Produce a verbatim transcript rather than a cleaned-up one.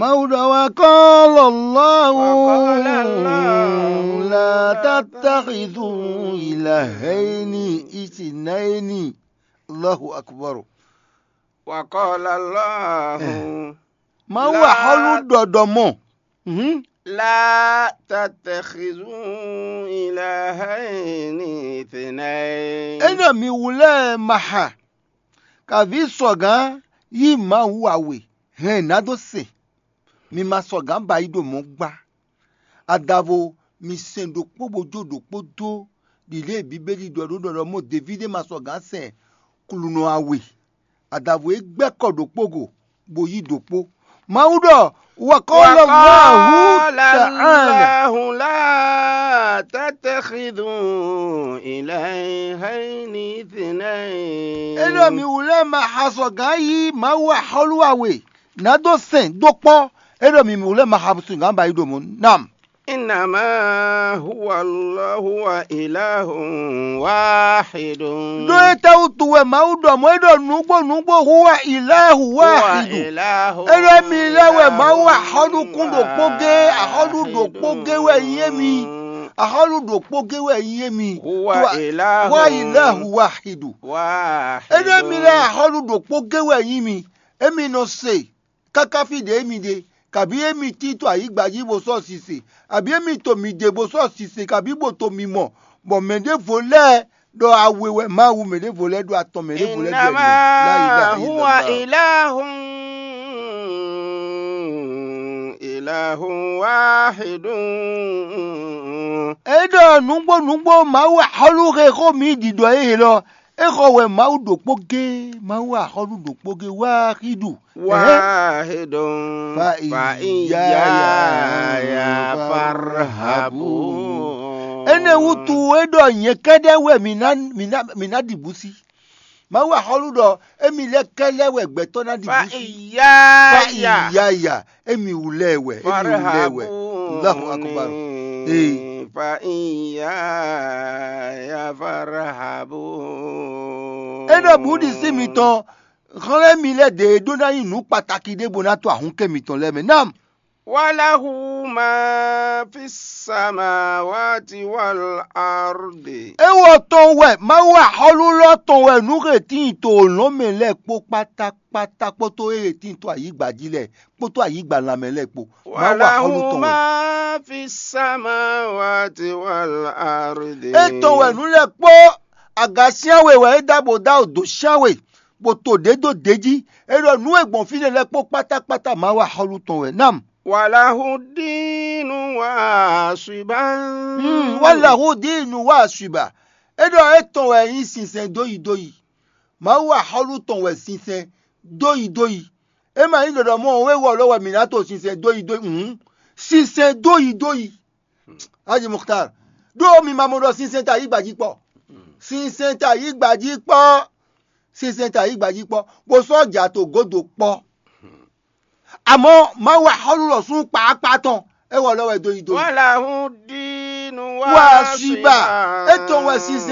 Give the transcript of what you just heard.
Mawu ɖɔ wɛ kɔ́lɔ Allahu Wa qala Allahu la tattakhidhu ilahayni ithnayni. Allahu akbar. Wa qala Allahu Mawu La- axɔ́lú ɖɔɖɔ mɔ. Mhm. la tattakhidhu ilahayni ithnayn. É ɖɔ mi wlɛ́ maha, kaví sɔgǎn yí Mawu awe hɛn nǎ dó se. Mi ma sɔgǎn ba yí ɖo mɔ̌ gbá. Adavo mi sɛn ɖokpó bó jó ɖokpó dó ɖiɖée Bíbélì ɖɔ ɖó ɖɔɖɔ mɔ Davídi ma sɔgǎn sɛn klunɔ awe. Adavo é gbɛ́ kɔ ɖokpó go bó yí ɖokpó. Mawu ɖɔ wa qala Allahu ta'ala. Allahu la tattakhidhu ilahayni ithnayn. É ɖɔ mi wlɛ́ ma xa sɔgǎn yí Mawu axɔ́lú awe nǎ dó sɛn dó kpɔ́. É ɖɔ mi wlɛ́ ma xa sɔgǎn ba yí ɖo mɔ̌ nam. Innama huwa Allahu wa ilahun wahidun. Ɖó étɛ́ wútu wɛ Mawu ɖɔ mɔ̌ é ɖɔ nǔgbó nǔgbó huwa ilahu Huwa wahidu. ilahun É ɖɔ émí lɛ́ɛ wɛ Mawu axɔ́núkún ɖokpó gé, axɔ́nú ɖokpó gé wɛ nyí émí. Axɔ́nú ɖokpó gé wɛ nyí émí. Huwa Huwa- ilahun Huwa ilahu wahidu. Wahidun. É ɖɔ émí lɛ́ɛ axɔ́nú ɖokpó gé wɛ nyí mi. Émí nɔ se káká fí ɖě émí ɖe, kabí émí tín to ayǐgba jí bó sɔ́ sise, abǐ émí to mǐ ɖe bó sɔ́ sise, kabí bó to mi mɔ, bɔ mɛ ɖěvo lɛ́ɛ ɖɔ awe wɛ Mawu, mɛ ɖěvo lɛ́ɛ ɖɔ atɔn, mɛ ɖěvo lɛ́ɛ ɖɔ Innama ẹnɛ. La ilaha huwa illallah. ilahun ilahun wahidun. É ɖɔ nǔgbó nǔgbó Mawu axɔ́lú he xó mǐ ɖiɖɔ é he lɔ, é xɔ wɛ Mawu ɖokpó gé, Mawu axɔ́lú ɖokpó gé wá xí ɖu. Wahidun Fa fa iyaya iyaya farhabun. Énɛ́ wútu é ɖɔ nyɛ kɛ́ɖɛ́ wɛ mǐ ná mǐ ná mǐ ná ɖi bǔ sí. Mawu axɔ́lú ɖɔ émí lɛ́ɛ kɛ́ɖɛ́ wɛ gbɛtɔ́ ná ɖi Fa bǔ sí. iyaya Fa iyaya émí wú lɛ́ɛ wɛ, émí wú lɛ́ɛ wɛ. Allahu akbar. Ee. Fa iyaya farhabun. É ɖɔ bǔ ɖi sí mitɔn, xlɛ́ mi lɛ́ɛ ɖě ɖó ná nyí nǔ kpataki ɖé bó ná to ahǔnkɛ mitɔn lɛ́ɛ mɛ. Nam. Walahu ma fi samawati wal ardi. Éwɔ tɔn wɛ Mawu axɔ́lú lɔ tɔn wɛ nǔ he tíin to lɔ̌n mɛ lɛ́ɛ kpó kpátákpátá kpódó é he tíin to ayǐgba jí lɛ́ɛ kpódó ayǐgba lanmɛ lɛ́ɛ kpó. Mawu axɔ́lú Walahu tɔn wɛ. ma fi samawati wal ardi. É tɔn wɛ nǔ lɛ́ɛ kpó aga syánwe wɛ é dá bó dá dǒ syánwe bó to ɖě dó ɖě jí. É ɖɔ nǔ e gbɔn fínɛ́ lɛ́ɛ kpó kpátákpátá Mawu axɔ́lú tɔn wɛ. Nam. Walahu dinu wa asiban. Hmm, walahu dinu wa asiba. É ɖɔ é tɔn wɛ nyí sinsɛn dóyi dóyi. Mawu axɔ́lú tɔn wɛ sinsɛn dóyi dóyi. É ma nyí ɖɔɖɔ mɔ wé wɔ lɔ wɛ mǐ ná to sinsɛn dóyi dóyi. Hmm. Sinsɛn dóyi dóyi. Haji Mukhtar. Ɖó mi ma mɔ ɖɔ sinsɛn ta yí gbají kpɔ. Sinsɛn ta yí gbají kpɔ. Sinsɛn ta yí gbají kpɔ. Bó sɔ́ ja to godo kpɔ. Àmọ́ Mawu axɔ́lú lɔ sún kpaákpá tɔn. É wɔ lɔ wɛ dóyi dóyi. Walahu dinu Wa asiba. É tɔn wɛ sinsɛn